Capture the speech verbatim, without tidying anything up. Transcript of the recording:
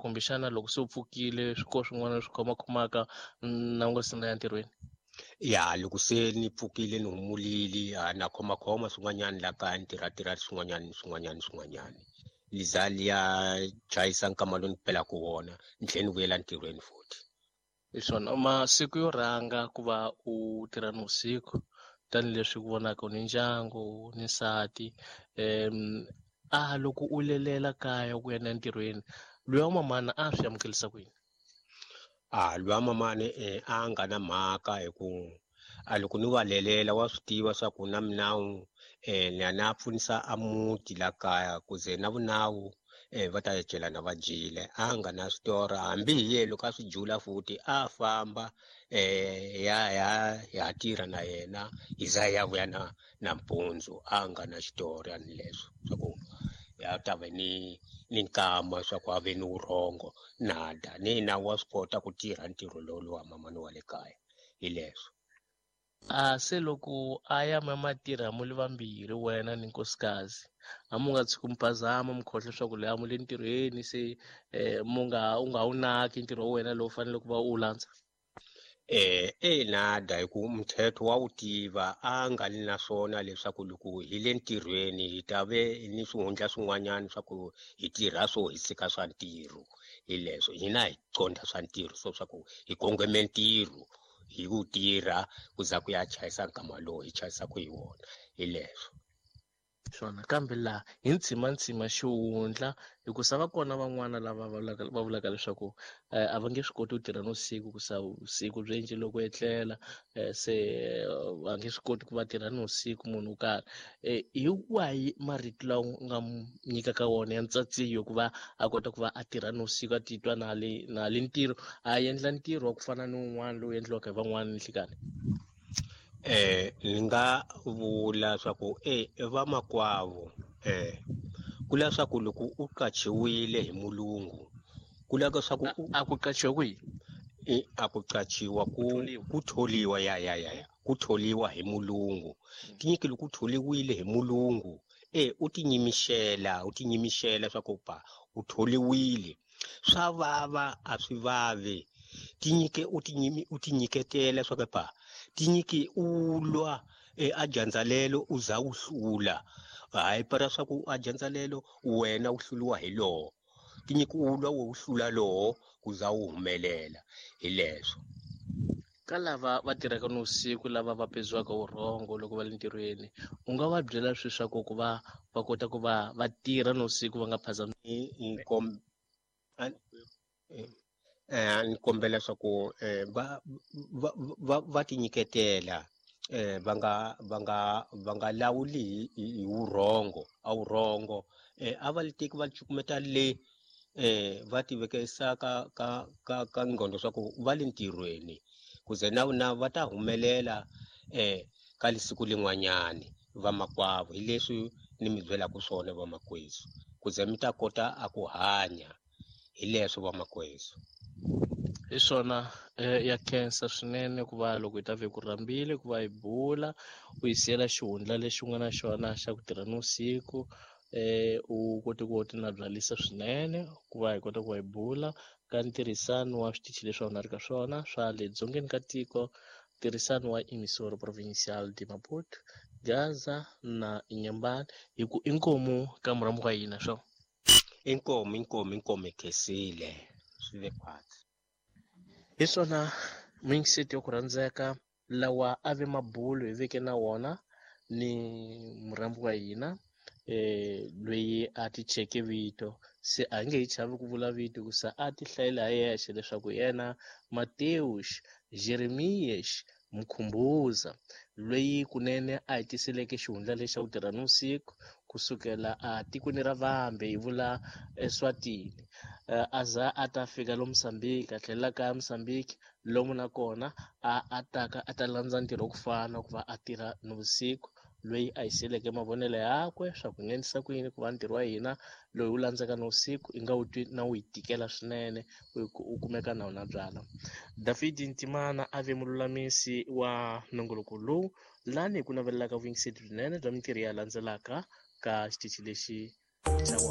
Kumbexana loko se u pfukile swi ko swin'wana swi khomakhomaka na u nga se na ya ntirhweni? Ya, loko se ni pfukile ni humulile a na khomakhoma swin'wanyana la kaya, ni tirhatirha swin'wanyana ni swin'wanyana ni swin'wanyana, liza liya chayisa nkama lowu ni pelaka wona, ni tlhela ni vuyela ntirhweni futhi. Hi swona, masiku yo rhanga ku va u tirha nivusiku tanihileswi ku vonaka u ni ndyangu ni nsati, um a loko u lelela kaya ku ya entirhweni, luya wa mamana a swi amukelisa ku yini? A luya mamani eh, a nga na mhaka, hi ku a loko ni va lelela wa swi tiva swa ku na minawu eh, ni ya na pfunisa a muti la kaya, ku ze na vunawu eh, va ta celana va dyile. A nga na switora, hambi hi ye loko a swi jula futhi a famba eh, ya ya ya tirha na yena, hi za ya vuya na na mpundzu. A nga na xitori ani leswo swa ku ya ta ve ni ni nkama swa ku a ve ni vurhongo nada ni na wa swi kota ku tirha ntirho lowu wa mamani wa le kaya, hi leswo. A se loko a ya ma ma tirha mu le vambirhi wena ni nkosikazi, a mu nga tshuki mi phazama mi khohlwa leswaku loyi a mu le ntirhweni, se eh, mu nga u nga wu naki ntirho wa wena lowu fanele ku va u wu landza? Eh, e nada, hi ku mthetho wa wu tiva, a nga li na swona leswaku loko hi le ntirhweni hi ta ve ni swihundla swin'wanyana swa ku hi tirha swo hi tshika swa ntirho. Hi leswo hina hi qondha swa ntirho, so swa ku hi kongome ntirho hi ku tirha ku za ku ya chayisa nkama lowu hi chayisaka hi wona, hi leswo. Swona, kambe laha hi ntshimantsima xihundla, hikusa va kona van'wana lava vulaka, va vulaka leswaku, eh, a va nge swi koti ku tirha nivusiku, ku sa vusiku byi endle loko etlela, eh, se va nge swi koti ku va tirha nivusiku munhu wo karhi. Eh, hi wahi marito lawa u nga n'wi nyikaka wona ya ntsatsiyo ku va a kota ku va a tirha nivusiku, a titwa na le, na le ntirho, a endla ntirho wa ku fana ni wun'wana lowu endliwaka hi van'wana ni nhlikani? Eh, ni nga vula swa ku, eh, vamakwavo, eh, ku la swa ku loko u qachiwile hi mulungu, ku la swa ku u A ku qachiwa kwihi? Eh, a ku qachiwa ku Ku tholiwa. ku tholiwa, ya, ya, ya, ya. Ku tholiwa hi mulungu. Tinyiki loko u tholiwile hi mulungu, eh, u tinyimixela, u tinyimixela swa ku pa u tholiwile. Swa vava a swi vavi. Tinyike u tinyimi, u tinyiketela swa ku pa tinyiki u lwa, eh, a dyandza lelo u za u hlula. Hayi para swa ku a dyandza lelo wena u hluriwa hi lowo. Tinyiki u lwa u hlula lowo ku za u humelela, hi leswo. Ka lava va tirhaka nivusiku, lava va pedziwaka vurhongo loko va le ntirhweni, u nga va byela swi swa ku ku va va kota ku va va tirha nivusiku va nga phazami? Ni, ni kom-, a, eh, ni kombela swa ku, eh, va, va, va, va tinyiketela, eh, va nga, va nga, va nga lawuli hi, hi, hi vurhongo, a vurhongo, eh, a va li teki va cukumeta le, eh, va ti vekisa ka, ka, ka, ka ngqondo swa ku va le ntirhweni, ku ze na na va ta humelela, eh, ka lisiku lin'wanyani vamakwavo. Hi leswi ni mi byelaka swona vamakwezu, ku ze mi ta kota a ku hanya, hi leswo vamakwezu. Hi swona, eh, ya khensa swinene ku va loko hi ta ve ku rhambile ku va hi bula, u hi siyela xihundla lexi u nga na xona xa ku tirha nivusiku, eh, u kote ku ti nabyalisa swinene ku va hi kota ku va hi bula ka ntirhisano wa switichi leswi a wu na ri ka swona swa le dzongeni ka tiko, ntirhisano wa Emissora Provincial de Maputo, Gaza na Inhambane. Hi ku inkomu ka murhambi wa hina swo. Inkomu, inkomu, inkomu khensile, swi ve khwatsi. Hi swona mindset yo ku rhandzeka lawa a ve mabulo hi veke na wona ni murhambi wa hina, eh, loyi a ti cheke vito, se a nge hi chavi ku vula vito hikusa a ti hlayela hi yexe leswaku yena Mateus Jeremias Mkhumbuza, loyi kunene a hi tiseleke xihundla lexi xa ku tirha nivusiku kusukela a tikweni ra Vambe, hi vula Eswatini, eh, a za a ta fika lomu Mozambique, a tlhelela kaya Mozambique, lomu nakona a, a taka a ta landza ntirho wa ku fana ku va a tirha nivusiku, loyi a hi siyeleke mavonelo yakwe swa ku nghenisa ku yini ku va ntirho wa hina loyi wu landzaka nivusiku i nga wu twi na wu yi tikela swinene, u, u kumeka na wona byala. David Ntimana a ve mululamisi wa nongoloko lowu, lani hi ku navelelaka vuyingiseri byinene bya mintirho ya landzelaka ka xitichi lexi xa